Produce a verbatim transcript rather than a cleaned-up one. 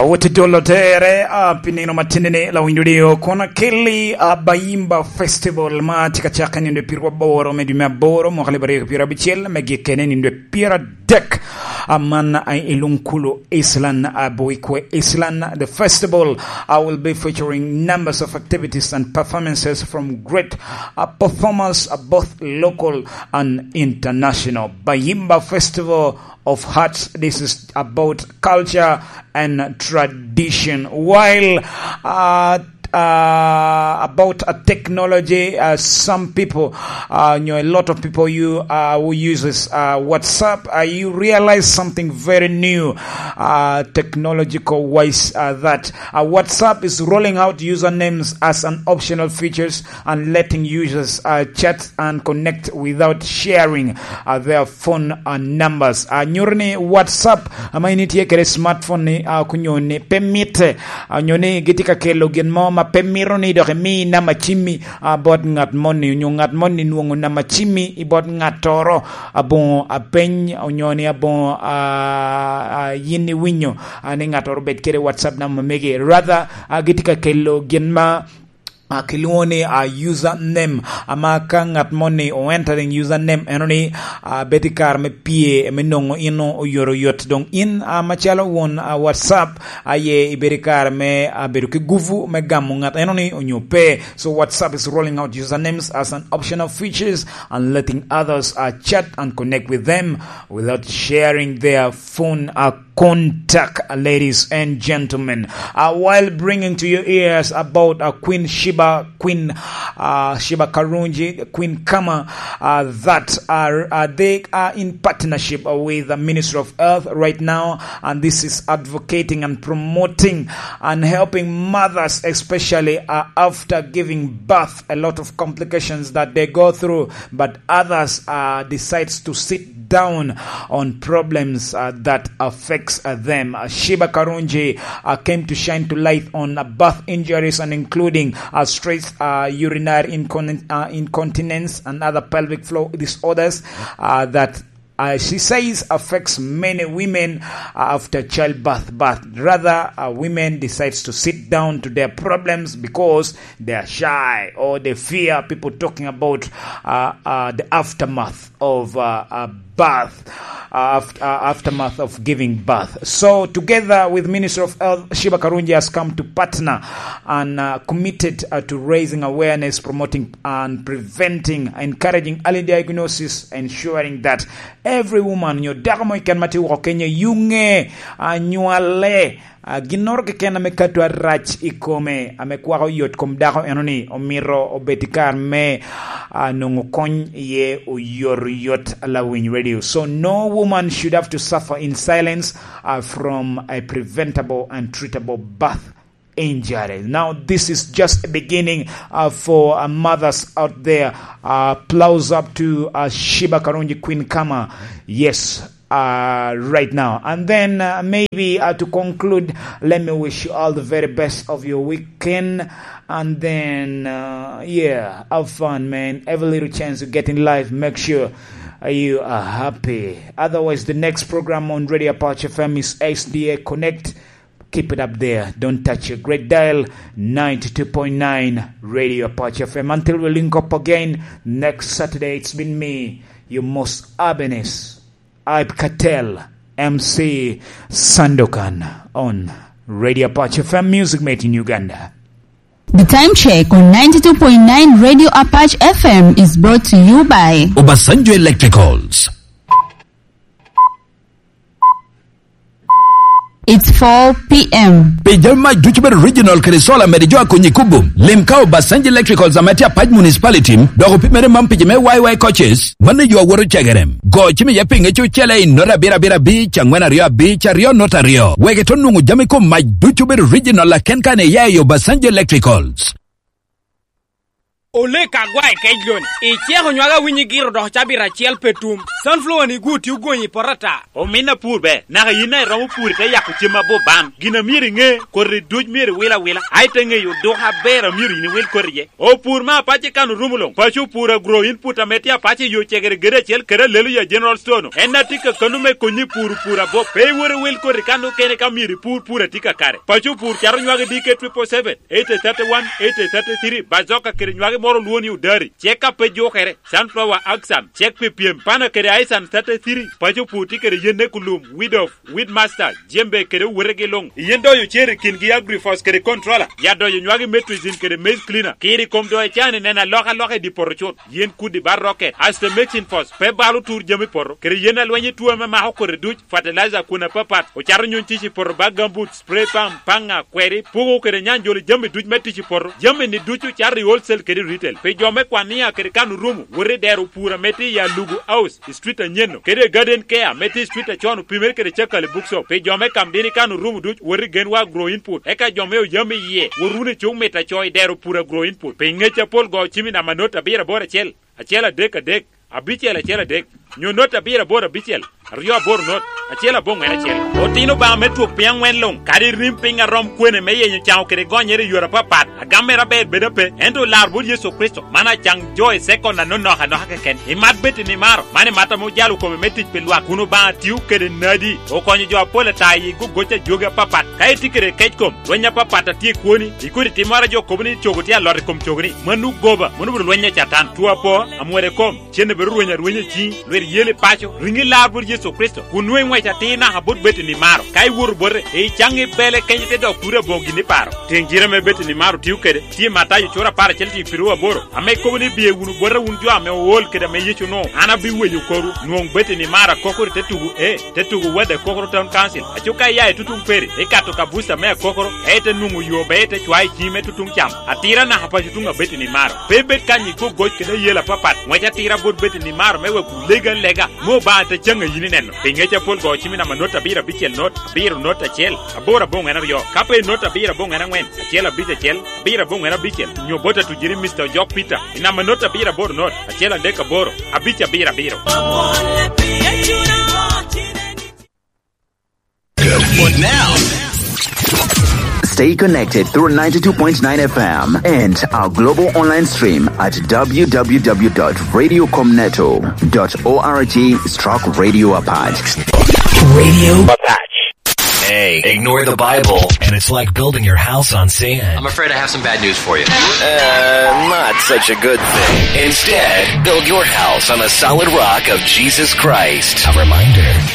Owete dolo tere, a, pi nino matini ni lawiny dudi o kono kelli, a, Bayimba Festival ma tye ka cakke nino dwe piru aboro me dwe me aboro, mwaka alip aryo ki pyerabicel, me gikkene nino dwe pyeradek. A, man, a, i Lunkulu Island, a, Buikwe Island. The festival, a, will be featuring numbers of activities and performances from great, a, performers, a, both local and international. Bayimba Festival of Hearts. This is about culture and tradition. While, uh, uh, about, uh, technology, uh, some people, uh, you know, a lot of people you, uh, who uses, uh, WhatsApp, uh, you realize something very new, uh, technological wise, uh, that, uh, WhatsApp is rolling out usernames as an optional features and letting users, uh, chat and connect without sharing, uh, their phone, uh, numbers. Uh, nyuto ni WhatsApp, ama in itye kede smartphone ni, uh, kunyo ni pe mitte, uh, nyo ni gitye ka kelo gin mo ma pe mito ni dok imi namba cimmi, uh, bot ngat moni, onyo ngat moni nwoŋo namba cimmi i bot ngattoro, aboŋo apeny, onyo ni aboŋo, uh, uh, yin iwinyo, uh, ni ngattoro obed kede WhatsApp namba megi. Rather, uh, gitye ka kelo gin ma, a, kilwoŋo ni, a, user name, ama ka ngat moni o entering user name, eno ni, a, bedo i kare me pye, me nwoŋo in oyot oyot. Doŋ in, a, macalo won, a, WhatsApp, a, ye ibedo i kare me, a, bedo ki guvu me gamo ngat eno ni onyo pe. So WhatsApp is rolling out usernames as an optional features and letting others, uh, chat and connect with them without sharing their phone, uh, contact, uh, ladies and gentlemen. Uh, while bringing to your ears about, uh, Queen Sheba, Queen, uh, Sheba Karungi, Queen Kama, uh, that are, uh, they are in partnership, uh, with the Ministry of Health right now, and this is advocating and promoting and helping mothers, especially, uh, after giving birth, a lot of complications that they go through, but others, uh, decides to sit down on problems, uh, that affects, uh, them. Uh, Sheba Karungi, uh, came to shine to light on, uh, birth injuries and including, uh, stress, uh, urinary incon-, uh, incontinence and other pelvic floor disorders, uh, that, uh, she says affects many women, uh, after childbirth. But rather, uh, women decides to sit down to their problems because they are shy or they fear people talking about, uh, uh, the aftermath of, uh, uh, birth, uh, aft-, uh, aftermath of giving birth. So, together with Ministry of Health, Sheba Karungi has come to partner and, uh, committed, uh, to raising awareness, promoting and preventing, encouraging early diagnosis, ensuring that every woman, nyo dako mo keken ma tye woko kenyo, yuŋe, anywale, a, ginnoro keken ame kato arac i kome, ame kwako yot kom dako eno ni, omito obed i kare me, a, nwoŋo kony iye oyotoyot. Lawiny Radio. So no woman should have to suffer in silence, uh, from a preventable and treatable birth injury. Now, this is just a beginning, uh, for, uh, mothers out there. Uh, applause up to, uh, Sheba Karungi, Queen Kama. Yes, uh, right now. And then, uh, maybe, uh, to conclude, let me wish you all the very best of your weekend. And then, uh, yeah, have fun, man. Every little chance you get in life, make sure, uh, you are happy. Otherwise, the next program on Radio Apache F M is S D A Connect. Keep it up there. Don't touch your great dial, ninety-two point nine Radio Apache F M. Until we link up again next Saturday, it's been me, your most urbanist, Hype Cartel, M C Sandokan on Radio Apache F M, Music Made in Uganda. The time check on ninety-two point nine Radio Apache F M is brought to you by Obasanjo Electricals. It's four p.m. Pi jami mac ducu bedo original kede solar, mede jo akonyi kubo. Lim ka Obasanjo Electricals ame tye Apac Municipality, dok opimere man pi jo me Y Y coaches, mano yo awoto cegerem. Go cim iye pinge cucele i nota abiro abiro abic, angwen aryo abic, aryo nota aryo. Wek ito nwoŋo jami kom mac ducu bedo original aken kan iya i Obasanjo Electricals. Olek agwa i kec loni, iceko nywage awinyo igiro dok cabit acel pe tum. Sunflower ni gwo tye ogonyi i poto ata. Omin apur be, naka yin a iromo pur ite yako cem abuban. Gin a myero iŋe, koti duc myero iwil awila, a ite ŋeyo duk aber a myero yin iwil koti iye. Opur me apac i kan orumo luŋ, paco opur agro input ame tye apac i yo cegere gede acel kede Hallelujah General Store-nu. En a tye kakano me konyi i pur opur abop. Pe iwot iwil koti kan okene ka myero ipur pur a tye kakare. Paco opur cato nywage D K triple seven, eighty thirty-one, eighty thirty-three, Bazoka kede nywage moro olwo ni Odari, cek a pe jukere, Sunflower Action, cek pi pyem, Pana kede Aisan thirty-three, paco pur tye kede yen ekulum, Weed of, Weed Master, jembe kede owotegi luŋ. Yen doyo cer i kingi Agrifos kede Controller, ya doyo nywage Metrizin kede Maize Cleaner, kiri kom doyo can i neno alokaloka i di poto cut. Yen kudi bar rocket, Aster Mixing Force, pe balo tur jami poto, kede yen alweny i tuo ame mako kodi duc, fertilizer kun apapat, ocato nyuny tic i poto bag gambut, spray pump, paŋa, kweri, puko kede nyanjolo jami duc me tic i poto. Jami ni ducu cato i wholesale kede retail. Pi jo me kwania kede kan orumo, wot i dero pur ame tye i Alugu House, i street anyen-nu, kede i Garden Care ame tye i street acon opimere kede Cakali Bookshop. Pi jo me kam dini kan orumo duc, wot i Genwa Agro Input. Eka jo me oyam iye, wot wunu i cuk mit aco i dero pur Agro Input. Pi ngec apol go cim i namba not abiro aboro acel, acel adek adek, abicel acel adek, nyo not abiro aboro abicel, aryo aboro not, acel aboŋwen acel. Otino Obaŋa me twok piny aŋwen luŋ, kadi rim piny a rom kwene me yenyo caŋo kede gonyere i yore apapat, agam mere aber bed ape, ento lar bot Yecu Kricito, man acaŋ jo i sekon anonok anoka keken. Imat bed i nimaro, man imat ame ojalo kome me tic pi lwak, kun Obaŋa tio kede nadi, okonyo jo apol ata i gogoc a jogi apapat. Ka itye kede kec kom, lweny apapat a tye i kwoni, ikodi timmoro a jo kobo ni cogo tye alot i kom cogoni, mano goba, mano obedo lweny a Catan. Two apo, amwode kom, cen obedo rweny arwenya i ciŋi, lwit yel i paco, riŋi lar bot Yecu Kricito, kun nwoŋo iŋwec atir naka bot Betani maro. Ka iwoto bote, icaŋ i bele kenyo te dok turi aboŋo gin iparo. Tiŋ jire ame Betani maro tio kede, tye i Matayo cura apar acel tiŋ piru aboro, ame kobo ni, "Biye wunu bota wun jo ame ool kede ame Yecu onwoŋo, an abiweyo korwu." Nwoŋ Betani maro akokoro i te tugo, ee, te tugo Wadde Kokoro Town Council. Aco ka iya i tutuŋ Peri, ikato ka buca me akokoro, ka ite nwoŋo yo be ite cwayo i ciŋi me tutuŋ cam. Atira naka paco tuŋ a Betani maro. Pe ibed kany i gogoc kede ayela apapat. Ŋwec atira bot Betani maro me wek wulegi alega, me Obaŋa te caŋ a yin ineno. Pi ŋec apol go cim i namba not abiro abicel not, abiro not acel, aboro aboŋwen aryo. Ka pe not abiro aboŋwen aŋwen, acel abic acel, abiro aboŋwen abicel, nyo bot atujiri Mister Ojok Peter, i namba not abiro aboro not, acel adek aboro, abic abiro abiro. But now, stay connected through ninety-two point nine F M and our global online stream at w w w dot radio com neto dot org stroke radio apache. Radio Apache. Hey, ignore the Bible, and it's like building your house on sand. I'm afraid I have some bad news for you. Uh, not such a good thing. Instead, build your house on the solid rock of Jesus Christ. A reminder.